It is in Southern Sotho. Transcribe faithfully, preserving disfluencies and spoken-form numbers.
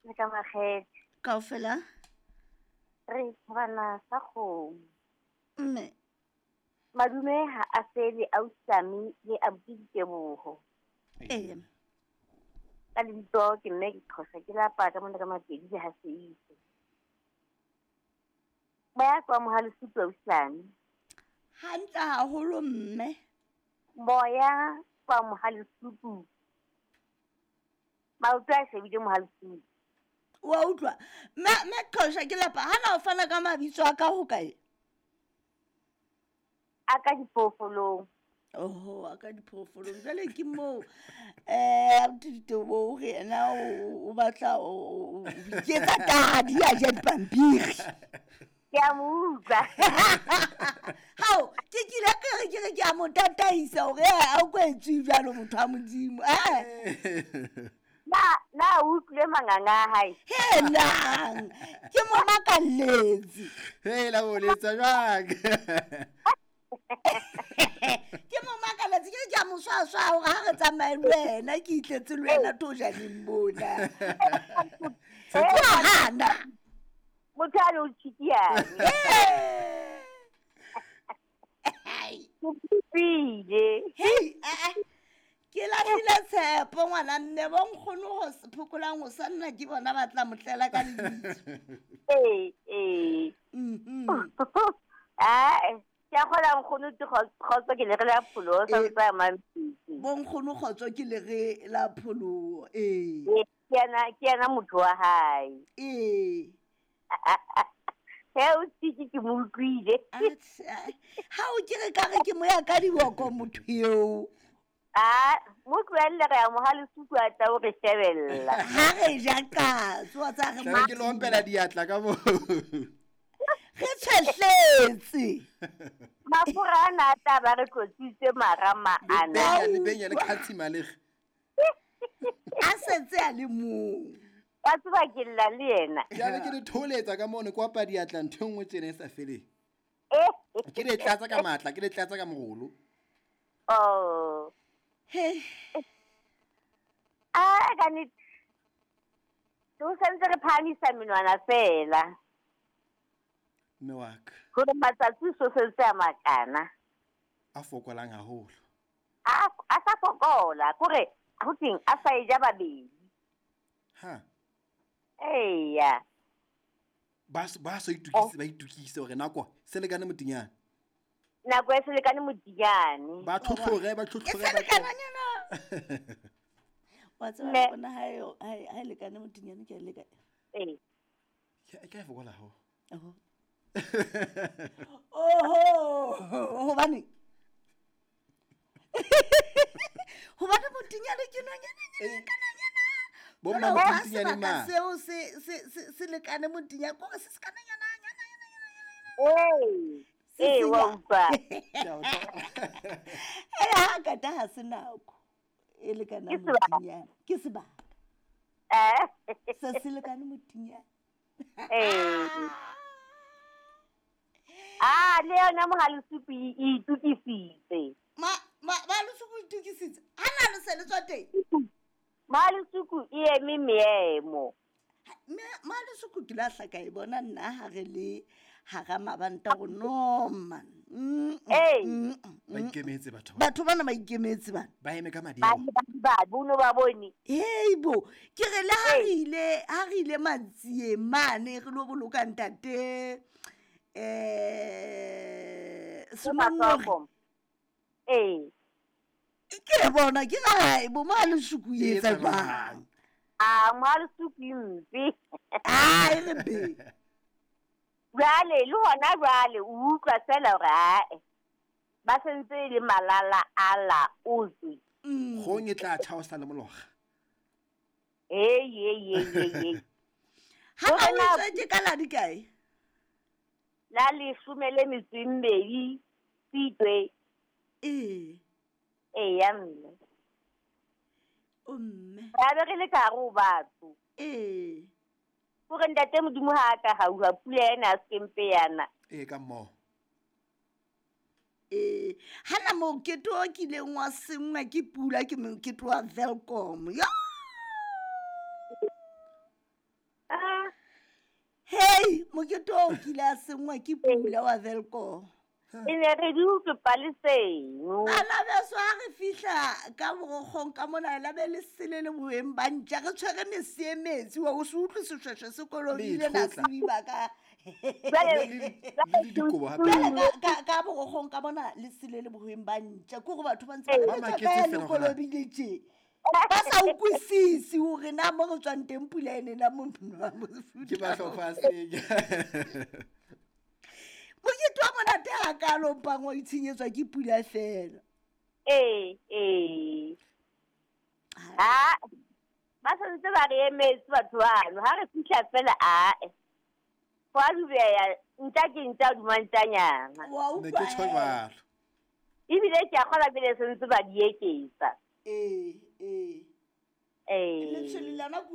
Le ka makgethe. Kaofela? Re thabana sa kgomo. Mme. Madume ha a fele ausi le abuti Diteboho. Ee. Ka lebitso ke mme ke Qhosha ke lapa ka mona ka Mapedi le ha Seise. Ba ya kwa Mohalesutu ausi. Hantle haholo mme. Moya kwa Mohalesutu. Maoto a shebile Mohalesutu. Wa utlwa. Mme mme Qhosha ke lapa ha na o fana ka mabitso a ka ho kae? A ka diphoofolong. Oho, a ka diphoofolong. Jwale ke moo eh abuti Diteboho hore yena o batla o iketsa tadi a ja dipampiri. Ke a mo utlwa. Hao, ke kile ke re ke re ke a mo tataisa hore a o kwetswe jwalo motho wa Modimo. Eh. Na na o utlwile manganga a hae? Helang, ke mo makalletse. Hela o letsa jwang? Ke mo makalletse ke re ke a mo swaswa hore ha re tsamaye le wena ke itletse le wena tojaneng mona. Ke a hana. Motho a le o tshikiyane. Ke pipile. Hei, eh eh. Ke lahlile tshepo ngwana mme bo nkgono ho phokolang ho sa nna ke bona ba tla motlela ka lebitso. Ee, ee. Mhm. Ah, ke a kgola nkgono ke kgotso ke lere la pholoho sa ntse a mampitsi. Bo nkgono kgotso ke lere la pholoho, ee. Ke yena ke yena motho wa hae. Ee. He o tsitsi ke mo utlwile. Ha o ke re ka re ke moya ka diboko motho eo. Ah, mo tlohelle re ya Mohalesutu a tla o re shebella. Ha re ja katso wa tsa re Tla ke lo ompela diatla ka moo. Re tshwehletse. Mafura ana a tla ba re tlotsitse marama ana. Le benya le khatsima le. A setse a le mong. Wa tseba ke lla le yena. Ke a be ke le tholetsa ka mono kwa pa diatla ntho e nngwe tsena e sa feleng. Ke le tlatsa ka matla, ke le tlatsa ka morolo. Oh. Hey. Ah, ka nnete. O santse re phahamisa menwana fela. Mme wa ka. Hore matsatsi so sentse a makana. A fokolang haholo. A a sa fokola, kore ho teng a sa e ja babedi. Ha. Eya. Ba ba so itukise ba itukise hore nako se lekane motinyane. Nako e se lekane motinyane. Ba tlhotlhore ba tlhotlhore ba lekananyana. Wa tseba bona ha e ha e lekane motinyane ke le kae. Ee. Ke ke fokola ho. Oho. Oho, hobane. Hobane motinyane ke nonyana nyana. Bo mma motinyane ma. Seo se se se lekane motinyane ko se se kananyana nyana nyana nyana. Ee. Ee, wa utlwa. Eh ha ka ta ha se nako e lekana motinyane. Ke sebaka. Eh. Se se lekane motinyane. Eh. Ah, le yona Mohalesutu e itukisitse. Ma ma Mohalesutu itukisitse. Ha na le se le tswa teng. Mohalesutu e eme meemo. Mohalesutu ke la hlaka e bona nna ha re le hara mabanta go no man. Ee. Ba ikemetse batho. Batho bana ba ikemetse bana. Ba eme ka madi. Ba ba bono ba bone. Heibo, ke re le ha re ile ha re ile Matsieng mane re lo boloka ntate. Eh Semonore. Eh. Ke bona ke hae bo Mohalesutu e etsa jwang? Ah, Mohalesutu mpe. Ah, e re be. Jwale le hona jwale o utlwa fela hore ae ba sentse le malala ala otswe. Gong e tla thaosa le mologa. Hey hey hey hey. Ha o tswe ke ka la di kae? La leshome le metso e mmedi Tshitwe. Ee. Ee ya mme. O mme. Ra be re le ka hare ho batho. Ee. Hore ntate Modimo ha a ka hauha pula ena a se mpe yana. Ee ka mmoho. Ee, hana mokete o kileng wa senngwa ke pula ke mokete wa Welkom. Ya! Ai mokete oo o kile a sengwa ke pula wa Welkom. E ne re di utlwe paleseno. Bana beso ha re fihla ka borokgong ka mona la be le sele le boeng ba ntja re tshwere mese e metsi wa o se utlwe seshweshwe se kolobile Le na ithotla. sediba ka Jwale Le- le le dikobo hape. Jwale ka- ka- ka borokgong ka mona le sele le boeng ba ntja ke gore batho ba ntse ba Ba re, "Le tswa maketse kae le feela hore na- kolobile tje?" Ba sa utlwisise hore na mo re tswang teng pula ene na mo Ke mahlopha a senya. Mokete wa monate hakalo mpang wa itshenyetswa ke pula fela. Ee, ee. Ha ba santse ba re emetse batho bano ha re fihla fela ae. Ho a dubeya ntja ke ntja hodima ntjanyana. Wa Ne utlwa ke tjho hee? jwalo. Ebile ke a kgolwa pele se ntse ba di eketsa. Ee, ee. Ee. Letshwele lona ke